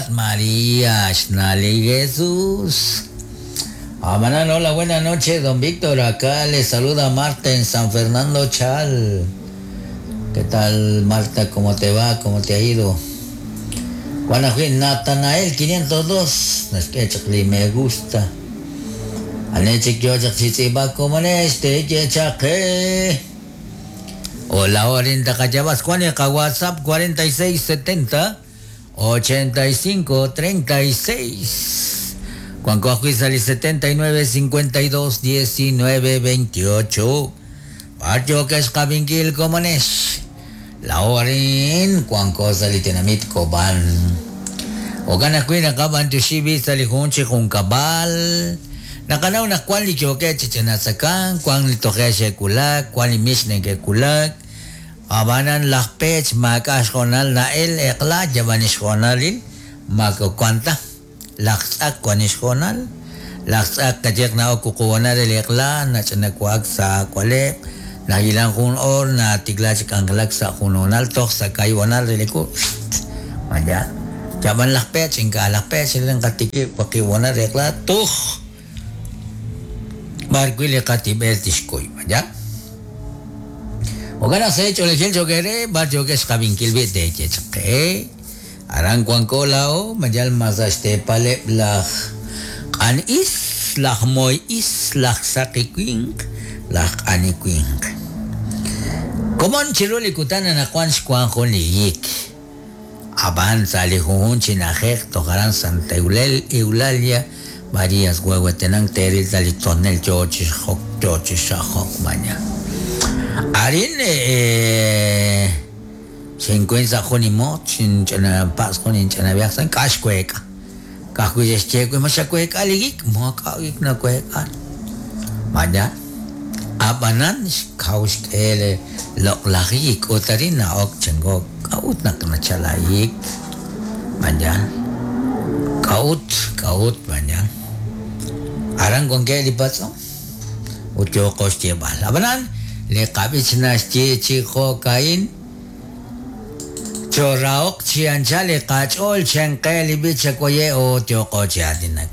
At María, xna' li Jesús. Amanan, hola, buenas noches, don Víctor. Acá le saluda Marta en San Fernando Chal. ¿Qué tal, Marta? ¿Cómo te va? ¿Cómo te ha ido? Juana Natanael 502. Naxk'e me gusta. Anechik yochaq chitz'iba como este yechaqe. Hola, Orinta Cachabas, Juan WhatsApp 4670 85 36. Juan Coajuizali 79 52 19 28. Barrio que es Cabinkil Comones. La Orin, Juan Cosali Tenamit Coban. Ogana Cuina Caban Tushibi Salijunchi Juncabal. Nakanaw na kwan li choke chichinasakan, kwan li toje shekulak, kwan li mishne kekulak. Abanan laj pech makax jonal na el ekla jabanix jonalil mako kwanta laj tz'ak kwanix jonal laj tz'ak kachiq na okuquwanal el ekla nach'anakuak sa kualeb nagilan jun or na tikla chik'anjelak sa junonal toj sa kaywanal reliku maya jaban laj pech inka laj pech len qatiki waqiwanal ekla tuj barquili qatib'el tixkuy maya Ogana se hecho le chelcho quere, barrio que es jabinkil de chechke. Aran cuancolao, mayal masaste pale laj an is, laj moy is, laj saqiquink, laj aniquink. Komon chiruli kutana na kwan xkwan yik. Avanza li jujun chinajej tojaran Santa Eulalia, Marías huehuetenang teril talitonel chochi jok chochi shajok maña. Arin se encuentra junimot, chin pas junin chana viaxan kashkueka. Kahuyescheku mashakueka ligik, moakawik na kueka. Maya. Abanan kaushkele loklagik otarina ok chengo kaut nak nachalaik. Maya. Kaut, kaut maya. Aran con qué li pasó? Utyo koshtiebal. Abanan le qabich na xchi chi jokain choraok chianchali qach'ol chenqe li bicha koye o tyoqo chiatinak.